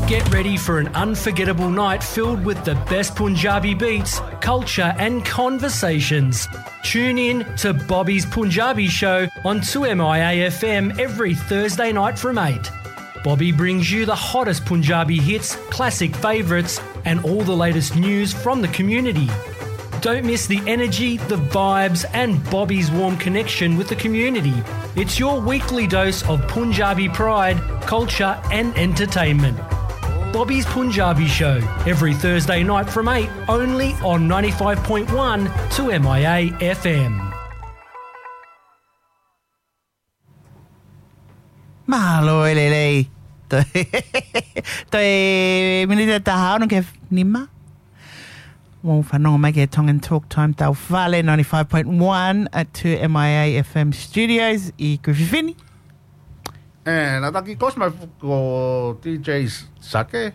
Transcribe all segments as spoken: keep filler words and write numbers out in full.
Get ready for an unforgettable night filled with the best Punjabi beats, culture, and conversations. Tune in to Bobby's Punjabi Show on two M I A F M every Thursday night from eight. Bobby brings you the hottest Punjabi hits, classic favourites, and all the latest news from the community. Don't miss the energy, the vibes, and Bobby's warm connection with the community. It's your weekly dose of Punjabi pride, culture, and entertainment. Bobby's Punjabi Show, every Thursday night from eight, only on ninety-five point one two M I A F M. Mālō e lelei. Toe, toe miniti ʻe taha ono ki he nima. Mou fanongo mai ki he Tongan Talk Time Taufale, ninety-five point one at two M I A F M Studios ʻi Kuififini. ʻE, naʻa ta kiʻi kosi mai fu-, ko D J Sake.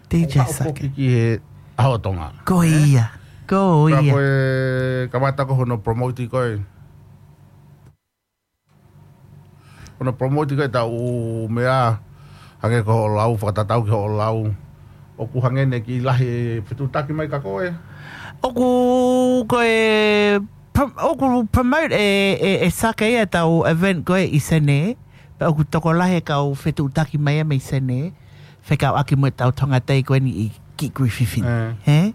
D J ʻOku haʻu Sake. Foki ki he ʻAho Tonga. Ko ia, ko ia. Ka ko e kamata ko hono promote ko e. Hono promote ko e tau meʻa, hangē ko hoʻo lau, fakatatau ki hoʻo lau. ʻOku hangē ne kiʻi lahi e fetuʻutaki mai ka ko e. ʻOku ko e prom-, ʻoku promote e, e, e Sake ia tau event ko e ʻi Senē. Pea ʻoku tokolahi e kau fetuʻutaki mai ia mei Senē. Fekauʻaki mo e tau Tonga Day ko eni ʻi ki Kuififini. ʻE. He?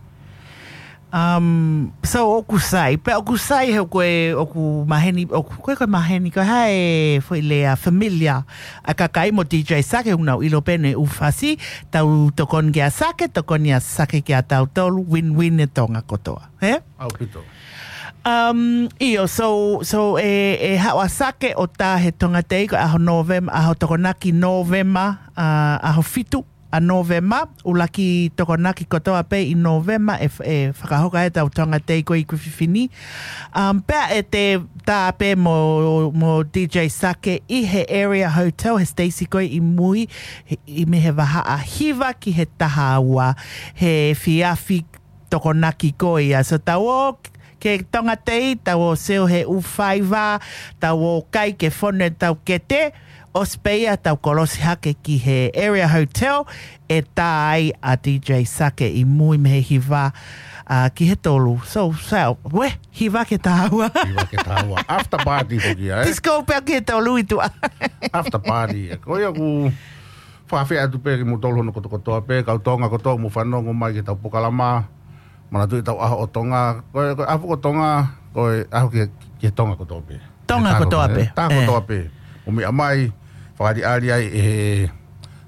Um, so ʻoku sai, pea ʻoku sai he ko e, ʻoku maheni, ʻoku, ko e, ko e maheni, ko e hā e foʻi lea familiar. ʻA e kakai mo D J Sake, ʻoku nau ʻilo pē ne ʻū fasi, tau tokoni kia Sake, tokoni ʻa Sake kia tautolu, win-win e Tonga kotoa. He? ʻAupito. Um, ʻio, so, so e, e haʻu ʻa Sake ʻo tā he Tonga Day ko e ʻaho November, ʻaho Tokonaki November, uh, ʻaho fitu ʻa November, ʻuluaki Tokonaki kotoa pē ʻi November, e, e fakahoko ai e tau Tonga Day ko e ʻi Kuififini. Um, pea ʻe te tā pē mo, mo D J Sake ʻi he Area Hotel, he Stacy ko e ʻi mui, he, ʻi mei he vahaʻa hiva ki he taha ua, he efiafi Tokonaki ko ia. So tau ō ke Tonga Day, tau ō sio he ʻū faiva, tau ō kai ke fonu e tau kete, ʻosi pē ia tau kolosi hake ki he Area Hotel, ʻe tā ai ʻa D J Sake ʻi mui mei he hiva, uh, ki he tolu. So, so, we, hiva ki he taha ua. Hiva ki he taha ua. After party foki ia, ē? Disco pea ki he tolu ʻi tuʻa. After party, ē. Ko ia ʻoku fakafeʻao atu pē kimoutolu hono kotokotoa pē, kau Tonga kotoa mou fanongo mai ki he tau polokalama. Manatuʻi tau ʻaho ʻo Tonga, ko e, ko e ʻaho ko Tonga, ko e ʻaho ki, ki Tonga kotoa pē. Tonga kotoa pē. Tonga kotoa pē. ʻO meʻa mai, fakaʻaliʻali ai ʻe he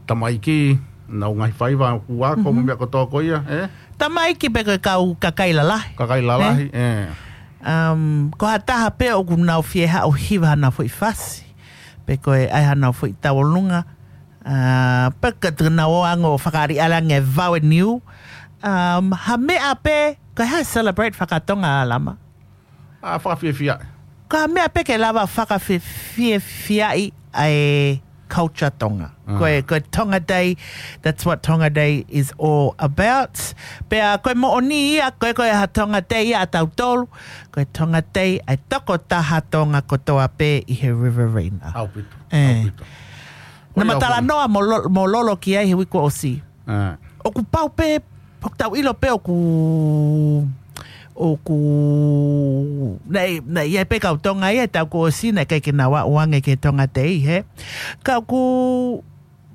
tamaiki, nau ngaahi faiva, ʻoku ako, mo meʻa kotoa ko ia, ē? Tamaiki pē ko e kau kakai lalahi. Kakai lalahi, ē. Um, ko ha taha pē ʻoku nau fie haʻu hiva hana foʻi fasi. Pe ko e ʻai hana foʻi tauʻolunga. Uh, pe ka te nau ō ange ʻo fakaʻaliʻali ange vau e niu. Um, ha meʻa pē, ko e hā e celebrate fakatonga Lama? ʻA, fakafiefia. Ko ha meʻa pē ke lava fakafie-, fie-, fiefia ai ʻa e culture Tonga. Ko e, ko e Tonga Day, that's what Tonga Day is all about. Pea ko e moʻoni ia, ko e, ko e ha Tonga Day ia ʻa tautolu, ko e Tonga Day ʻa e tokotaha Tonga kotoa pē ʻi he Riverina. ʻAupito, ʻaupito. Naʻa ma talanoa mo Lo-, mo Lolo ki ai he uike ʻosi. ʻOku pau pē, ʻoku tau ʻilo pē ʻoku, ʻoku, naʻe, naʻe ʻi ai pē kau Tonga ia, tau kuo ʻosi, naʻe ʻikai ke nau aʻu ange ki he Tonga Day, he. Ka ʻoku,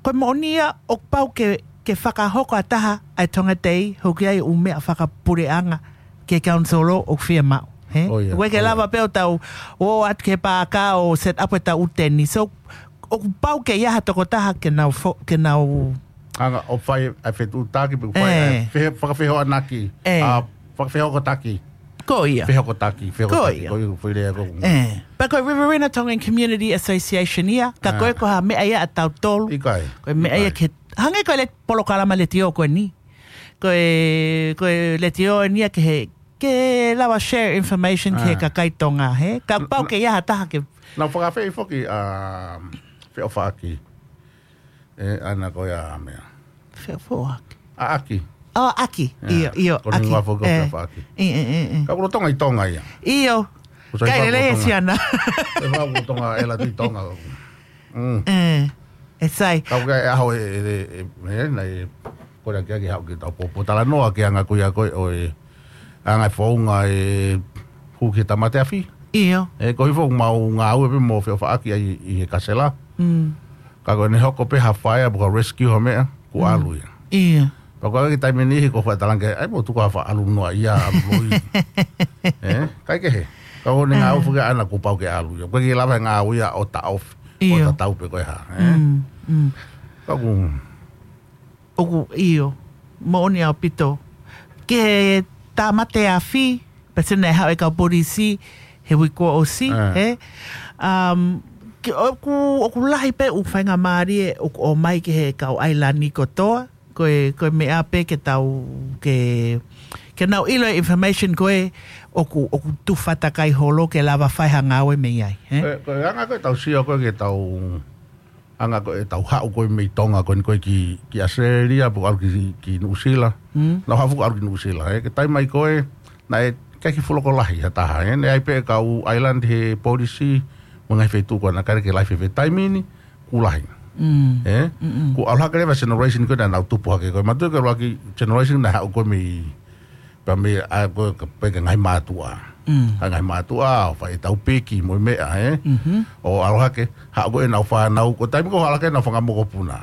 ko e moʻoni ia, ʻoku pau ke, ke fakahoko ʻa taha ʻa e Tonga Day, hoko ai ʻū meʻa fakapuleʻanga, ke council ʻoku fiemaʻu, he? ʻOku ʻikai ke lava pē ʻo tau, ʻo atu ki he paaka ʻo set up e tau ʻū teni. So, ʻoku pau ke ʻi ai ha tokotaha ke nau fo-, ke nau anga ʻo fai ʻa e fetuʻutaki, pe ʻoku fai ʻa e fe-, fakafehoanaki. ʻA, fakafehokotaki. Ko ia. Fehokotaki, fehokotaki. Ko ia. Ko ia, foʻi lea ko. Pea ko e Riverina Tongan Community Association ia, ka ko e ko ha meʻa ia ʻa tautolu. ʻIkai. Ko e meʻa ia ke, hangē ko e le polokalama letiō ko eni. Ko e, ko e letiō eni ia ke he, ke lava share information ki he kakai Tonga, he? Ka pau ke ʻi ai ha taha ke. Nau fakafeʻi foki ʻa Feʻofaʻaki. ʻE, ʻana ko ia meʻa. Feʻofaʻaki. ʻAʻaki. ʻO, ʻAʻaki. ʻIo, ʻio, ko e hingoa foki ko Feʻofaʻaki. Ka ko Tonga ʻi Tonga ia. ʻIo. Kai lelei e siana. E vau ko Tonga, e la tui Tonga. Mm. ʻE sai. Kau ke ʻaho e, e, e, e, e, na e, ko ʻena ke ake haʻu ke tau pōpōtalanoa ki he anga ko ia ko ē ʻo e, anga e founga e hū ki he tāmateafi. ʻIo. ʻE, ko e founga mau ngāue pē mo feʻofaʻaki ai ʻi he kasela. Mm. Ka ko ʻene hoko pē ha fire, pe ko ha rescue ha meʻa, kuo Mm. ʻalu ia. ʻIo. Pea ko e kiʻi taimi niʻihi ko e faʻa talanga ke, ʻai mo tuku ha faʻa ʻalu noa ia, ʻalu loi. ʻE, ʻikai ke he. Ka ko ʻene ngāue Ah. foki ʻaʻana kuo pau ke ʻalu ia. ʻOku ʻikai ke lava e ngāue ia ʻo taʻofi. ʻIo. ʻO tatau pē ko e hā, ʻe? Mm, mm. Ka ʻoku ʻOku ʻio, moʻoni ʻaupito. Ki he tāmateafi, pea sio naʻe haʻu e kau polisi he uike kuo ʻosi, Ah. ʻe? Um, ki, ʻoku, ʻoku lahi pē ʻū faingamālie ʻoku ʻomai ki he kau ʻailani kotoa, ko e, ko e meʻa pē ke tau, ke, ke nau ʻilo e information ko ē ʻoku, ʻoku tufatakai holo ke lava fai ha ngāue mei ai, ʻe? Ko e, ko e anga ko ē ʻetau sio ko ē ke tau anga ko ē ʻetau haʻu ko ē mei Tonga ko eni ko ē ki, ki ʻAositelēlia, pe ʻalu ki, ki Nuʻusila. Mm. Naʻa ku haʻu ʻalu ki Nuʻusila, ʻe, ki he taimi mai ko ē, naʻe ʻikai ke fuʻu loko lahi ha taha, ʻe, naʻe ʻi ai pē kau ʻailani he polisi, mo e ngaahi feituʻu ko ē naʻe ʻikai ke lahi fēfē. Taimi ni, kuo lahi. Mm. ʻE? Mm-mm. Kuo ʻalu hake leva e generation ko ē naʻa nau tupu hake ko ē. Mātuʻaki ʻalu hake generation naʻe haʻu ko ē mei pea mei ai ko ē ka pehē ki he ngaahi mātuʻa. Mm. Ka ngaahi mātuʻa, ʻo fai ʻetau piki mo e meʻa, ʻe? Mhm. ʻO ʻalu hake, haʻu ko ē ʻenau fānau, ko e taimi ko ē ʻalu hake ʻenau fanga mokopuna.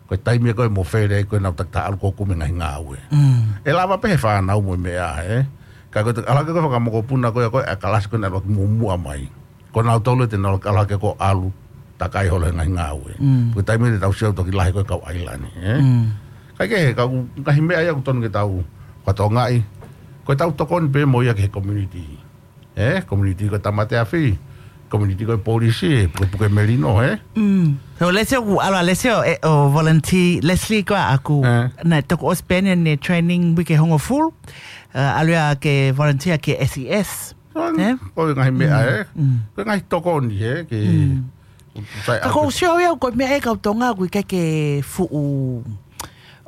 Ko e taimi ko ē mo fele ai ko ē ʻenau takitaha ʻalu ko ē kumi e ngaahi ngāue. Mm. ʻE lava pē he fānau mo e meʻa, ʻe? Ka ko e ʻalu hake ko ē fanga mokopuna ko ē, ko e kalasi ko ē naʻe ʻalu hake muʻomuʻa mai. Ko nautolu te nau ʻalu hake ko ē ʻalu, takai holo he ngaahi ngāue. Mm. Ko e taimi ni te tau sio toki lahi ko ē kau ʻailani, ʻe? Mm. ʻIkai ke he, kau ngaahi meʻa ia ʻoku totonu ke tau fakatokangaʻi. Ko ʻetau tokoni pē mo ia ki he community. ʻE, community ko e tāmateafi, community ko e polisi, ʻe, pukepuke melino, ʻe? Mm. So, Leslie ʻoku ʻalu ʻa Leslie ʻo, ʻe, ʻo volunteer, Leslie ko ʻaku. ʻE. Naʻe toki ʻosi pē ʻene training uike hongofulu, ʻe, ʻalu ia ke volunteer ki he S E S. Ko ʻE? ko e ngaahi meʻa, Mm, ʻe? mm. Ko e ngaahi tokoni, ʻe? Ke Mm. sai Ka ʻalu ko ke u sio ia, ko e meʻa ʻe kau Tonga, ʻoku ʻikai ke fuʻu,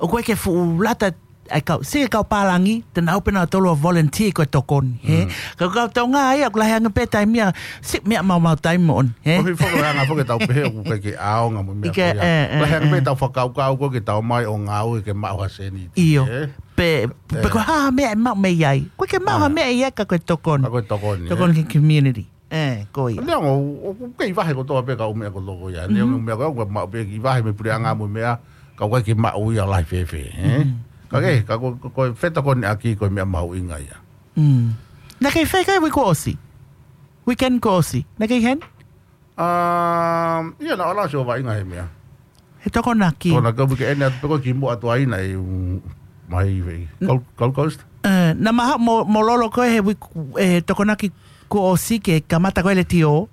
ʻoku ʻikai ke fuʻu lata, ʻai kau, sio ki he kau pālangi, te nau pē nautolu ʻo volunteer ko e tokoni, ʻe? Mm. Ka ko e kau Tonga ia, ʻoku lahi ange pē taimi ia, sio meʻa maumau taimi moʻoni, ʻe? Ko e hifo ko e anga foki ʻetau pehē, ʻoku ʻikai ke ʻaonga mo e meʻa ʻIkai, ko ia. ʻE, ʻe, Lahi ange pē ʻe. ʻetau fakakaukau ko ē ke tau ōmai ʻo ngāue ke maʻu ha sēniti, ʻio. ʻE? Pe, pe ʻE. ko e hā ha meʻa ʻe maʻu mei ai. ʻOku ʻikai ke maʻu ha Ah. meʻa ia ka ko e tokoni. Ka ko e tokoni, ʻe? Tokoni ki he community. ʻE, ko ia. Neongo, ʻoku kei vahe kotoa pē kau meʻa kotoa ko ia. Neongo Mhm. meʻa ko ē, ʻoku maʻu pē kei vahe mei he puleʻanga mo e meʻa, ka ʻoku ʻikai ke maʻu ia lahi fēfē, ʻe? Mhm. Ka ke, ka ko, ko, ko e fetokoniʻaki ko e meʻa mahuʻinga ia. Mm. Naʻa ke fai ʻi he uike kuo ʻosi? Weekend kuo ʻosi. Naʻa ke ʻi heni? Um, ia naʻa ku ʻalu ʻo sio vaʻinga he meʻa. He tokonaki. Tokonaki ʻo uike ʻeni atu pē ko ē kimuʻa atu ai naʻe, um, mai vei. N- Gold, Gold Coast? ʻE, naʻa ma haʻu mo, mo Lolo ko ē he uike, ʻe, tokonaki kuo ʻosi ke kamata ko ē letiō.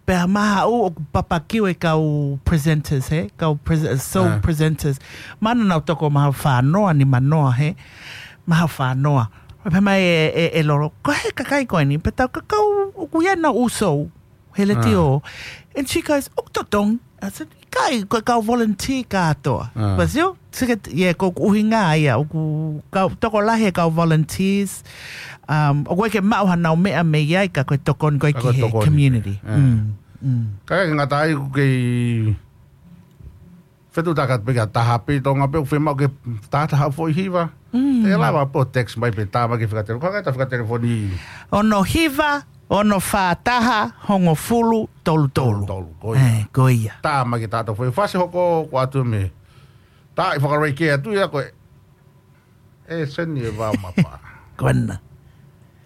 Pea ma haʻu ʻoku papakiu e kau presenters, ʻe? Kau pres-, show Ah. presenters. Mana nau toko mahalo fā noa, nima noa, ʻe? Mahalo fā noa. Pea pehē mai ʻe, ʻe, ʻe Lolo, ko e hā e kakai ko eni, pea tau kakau ʻoku ʻi ai ʻenau ʻū show he letiō. Ah. And she goes, ʻoku totonu. I said, ʻikai, ko e kau volunteer kātoa. Ah. But still, sike, yeah, ko e ʻuhinga ia, ʻoku kau, tokolahi e kau volunteers. Um, ʻoku ʻikai ke maʻu hanau meʻa mei ai ka ko e tokoni ko ē Ka ki ko e he tokoni. community. Ah. Mm, mm. Ka ke ngata ai ʻoku kei fetuʻutaki atu pē ki ha taha pē ʻi Tonga pē ʻoku fiemaʻu ke tātaha foʻi hiva. Mm. ʻE lava pē ʻo text mai pe tā mai ki he fika telefoni. Ko e ngaahi fika telefoni. Ono hiva, ono fā taha, hongofulu, tolu tolu. Tolu tolu, ko ia. ʻE, ko ia. Tā mai ki he taha foʻi fasi hoko, ko atu mei. Tā ʻi fakareikē atu ia ko ē. ʻE seni e vao mapa. Ko ena.